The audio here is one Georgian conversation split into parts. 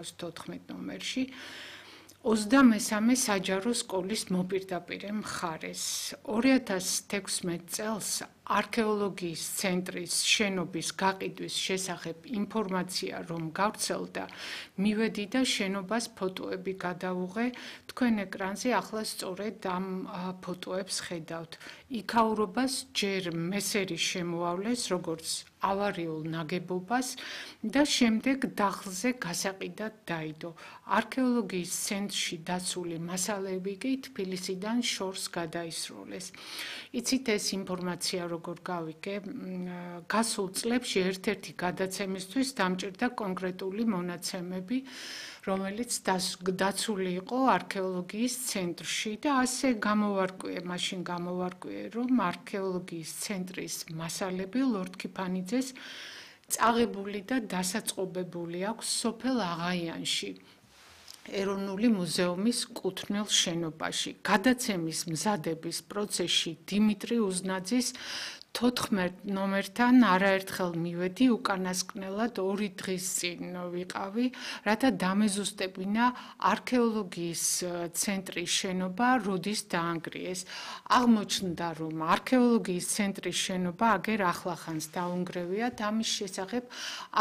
14 ნომერში 23 საჯარო სკოლის მოპირდაპირე მხარეს 2016 წელს არქეოლოგიის ცენტრის შენობის გაყიდვის შესახებ ინფორმაცია რომ გავრცელდა მივედი და შენობას ფოტოები გადავუღე თქვენ ეკრანზე ახლა სწორედ ამ ფოტოებს ხედავთ იქაურობას ჯერ მესერი შემოავლეს როგორც ავარიულ ნაგებობას და შემდეგ დახლზე გასაყიდად დაიდო არქეოლოგიის ცენტრში დაცული მასალები კი თბილისიდან შორს გადაისროლეს იცით ეს ინფორმაცია როგორ გავიგე გასულ წლებში ერთ-ერთი გადაცემისთვის დამჭირდა კონკრეტული მონაცემები რომელიც დაცული იყო არქეოლოგიის ცენტრში და ასე მაშინ გამოვარკვიე რომ არქეოლოგიის ცენტრის მასალები ლორდ ქიფანიძეს წაღებული და დასაწყობებული აქვს სოფელ აღაიანში ეროვნული მუზეუმის კუთვნილ შენობაში გადაცემის მზადების პროცესში დიმიტრი უზნაძის 14 ნომერთან არაერთხელ მივედი უკანასკნელად 2 დღის წინ ვიყავი რათა დამეზუსტებინა არქეოლოგიის ცენტრის შენობა როდის დაანგრიეს აღმოჩნდა რომ არქეოლოგიის ცენტრის შენობა აგერ ახლახანს დაუნგრევიათ ამის შესახებ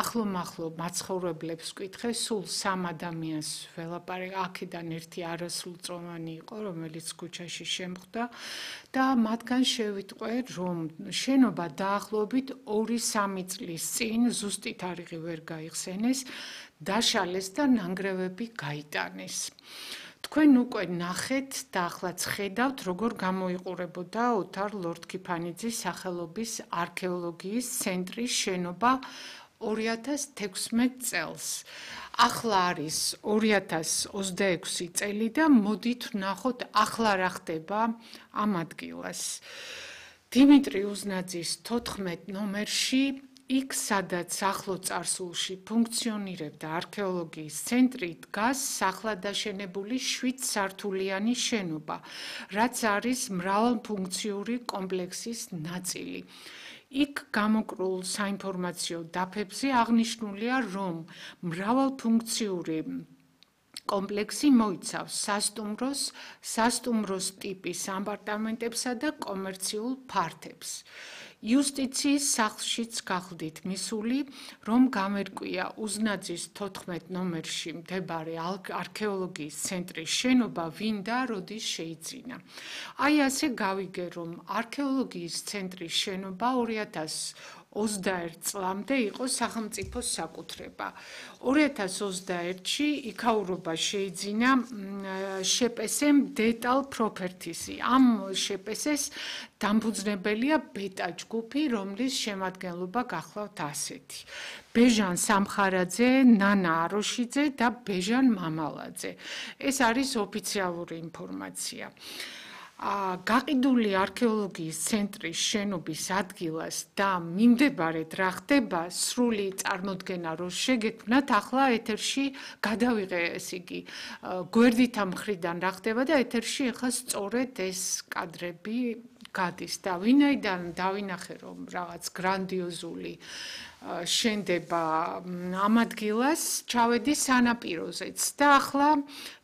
ახლომახლო მაცხოვრებლებს ვკითხე სულ 3 ადამიანს ველაპარაკე აქედან ერთი არასრულწლოვანი იყო რომელიც ქუჩაში შემხვდა და მათგან შევიტყვე რომ შენობა დაახლოებით 2-3 წლის წინ ზუსტი თარიღი ვერ გაიხსენეს დაშალეს და ნანგრევები გაიტანეს თქვენ უკვე ნახეთ და ახლაც ხედავთ როგორ გამოიყურებოდა ოთარ ლორდ ქიფანიძის სახელობის არქეოლოგიის ცენტრის შენობა 2016 წელს ახლა არის 2026 წელი და მოდით ვნახოთ ახლა რა ხდება ამ ადგილას დიმიტრი უზნაძის 14 ნომერში იქ სადაც ახლო წარსულში ფუნქციონირებდა არქეოლოგიის ცენტრი დგას სახლადაშენებული 7 სართულიანი შენობა რაც არის მრავალფუნქციური კომპლექსის ნაწილი იქ გამოკრულ საინფორმაციო დაფებზე აღნიშნულია რომ მრავალფუნქციური კომპლექსი მოიცავს სასტუმროს ტიპის აპარტამენტებსა და კომერციულ ფართებს. იუსტიციის სახლშიც გახდით მისული, რომ გამერკვია უზნაძის 14 ნომერში მდებარე არქეოლოგიის ცენტრის შენობა ვინ და როდის შეიძინა. აი ასე გავიგე, რომ არქეოლოგიის ცენტრის შენობა 2021 წლამდე იყო სახელმწიფოს საკუთრება. 2021-ში იქაურობა შეიძინა შეპესემ დეტალ პროპერტისი. ამ შეპესეს დამფუძნებელია ბეტა ჯგუფი, რომლის შემადგენლობა გახლავთ ასეთი. ბეჟან სამხარაძე, ნანა აროშიძე და ბეჟან მამალაძე. ეს არის ოფიციალური ინფორმაცია. გაყიდული არქეოლოგიის ცენტრის შენობის ადგილას და მიმდებარედ რა ხდება სრული წარმოდგენა რო შეგექმნათ ახლა ეთერში გადავიღე ეს იგი გვერდითა მხრიდან რა ხდება და ეთერში ახლა სწორედ ეს კადრები გადის და ვინაიდან დავინახე რომ რაღაც გრანდიოზული შენდება ამ ადგილას ჩავედი სანაპიროზეც და ახლა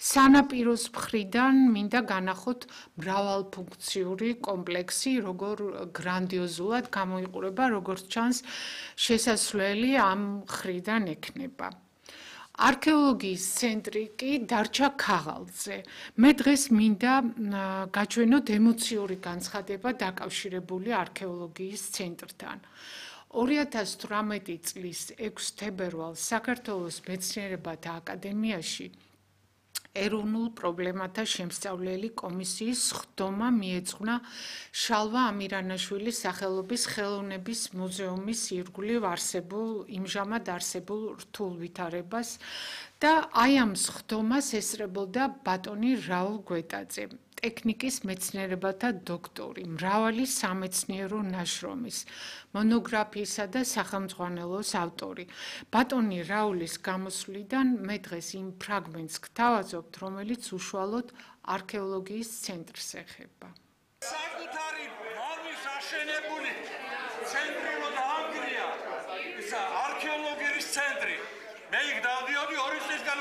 სანაპიროს მხრიდან მინდა განახოთ მრავალფუნქციური კომპლექსი როგორ გრანდიოზულად გამოიყურება როგორც ჩანს შესასვლელი ამ მხრიდან ექნება არქეოლოგიის ცენტრი კი დარჩა ქაღალდზე. მე დღეს მინდა გაჩვენოთ ემოციური განცხადება დაკავშირებული არქეოლოგიის ცენტრთან. 2018 წლის 6 თებერვალს საქართველოს მეცნიერებათა აკადემიაში ეროვნულ პრობლემათა შემსწავლელი კომისიის ხდომა მიეძღვნა შალვა ამირანაშვილის სახელობის ხელოვნების მუზეუმის ირგვლივ იმჟამად არსებულ რთულ ვითარებას და აი ამ ხდომას ესწრებოდა ბატონი რაულ გვეტაძე ტექნიკის მეცნიერებათა დოქტორი, მრავალი სამეცნიერო ნაშრომის, მონოგრაფიისა და სახელმძღვანელოს ავტორი. ბატონი რაულის გამოსვლიდან მე დღეს იმ ფრაგმენტს გთავაზობთ, რომელიც უშუალოდ არქეოლოგიის ცენტრს ეხება. საკუთარი მამის აშენებული ცენტრი რო დაანგრია, ისა არქეოლოგიის ცენტრი. მე იქ დავდიოდი 2 წლისგან